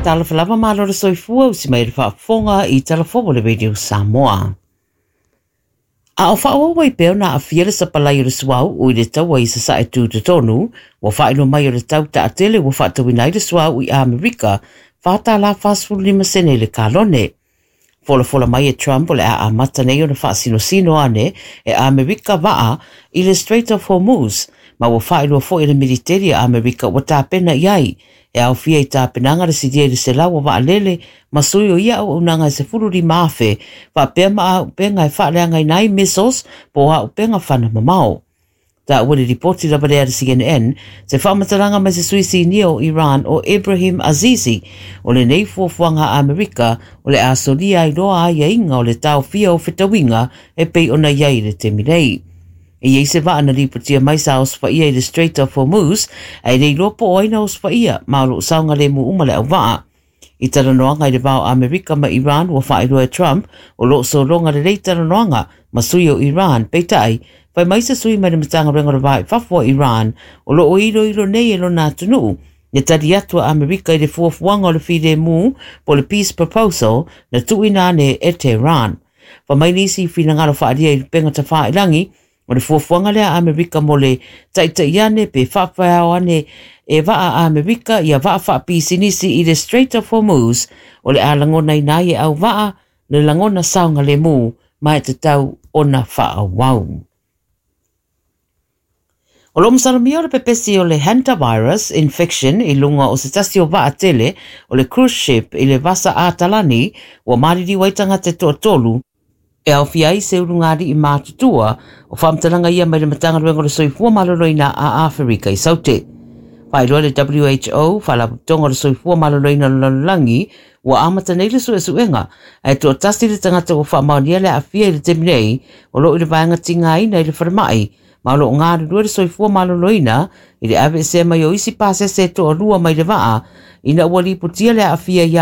Talofa lava malo le soifua usi mai le faafofoga i Talafou o le Radio Samoa. A o faaauau ai pea ona aafia le sapalai o le suauu i le taua i Sasae Tutotonu, ua faailoa mai o le tau taatele ua faatauina ai le suauu i Amerika $4.45 i le kalone. Folafola mai e Trump o le a amata nei ona faasinosino ane e Amerika vaa i le Strait of Hormuz, ma ua faailoa foi e le militeri a Amerika ua tapena i ai. E aofia i tapenaga le silia i le 100 o vaalele ma sui o ia auaunaga e 15,000 faapea ma auupega e faaleagaina ai missiles po o auupega fana mamao. Taua i le lipoti lava lea a le CNN, se faamatalaga mai se sui sinia o Iran o Ibrahim Azizi, o lenei fuafuaga a Amerika o le a solia ai loa aiaiga o le taofia o fetauiga e pei ona i ai i le taimi nei. E i ai se vaa na lipotia mai sa osofaia i le Strait of Hormuz, ae le iloa po o ai na osofaia, ma o lo o saogalemu uma le auvaa. I talanoaga i le va o Amerika ma Iran ua faailoa e Trump o lo o sologa lelei talanoaga ma sui o Iran, peitai, fai mai se sui mai le Matagaluega o le Va i Fafo a Iran o lo o iloilo nei e lona atunuu le tali atu a Amerika i le fuafuaga o le filemu po o le peace proposal na tuuina ane e Tehran. Fai mai nisi i finagalo faaalia i upega tafailagi o le fuafuaga lea a Amerika mo le taitai ane pe faafeao ane e vaa a Amerika ia vaa faapisinisi i le Strait of Hormuz o le a lagonaina ai e auvaa le lagona saogalemu ma e tatau ona faaauau. O lo o masalomia o le pepesi o le hantavirus infection i luga o se tasi o vaa tele o le cruise ship i le Vasa Atalani ua maliliu ai tagata e toatolu e aofia ai se ulugalii matutua o faamatalaga ia mai le Matagaluega o le Soifua Maloloina a Aferika i Saute. Faailoa le WHO, Faalapotopotoga o le Soifua Maloloina o le Lalolagi, ua amata nei le suesuega, ae toatasi le tagata ua faamaonia le aafia i le taimi nei o lo o i le vaega tigaina i le falemai, ma o lo o galulue le Soifua Maloloina i le aveesea mai o isi pasese e toalua mai le vaa ina ua lipotia le aafia ia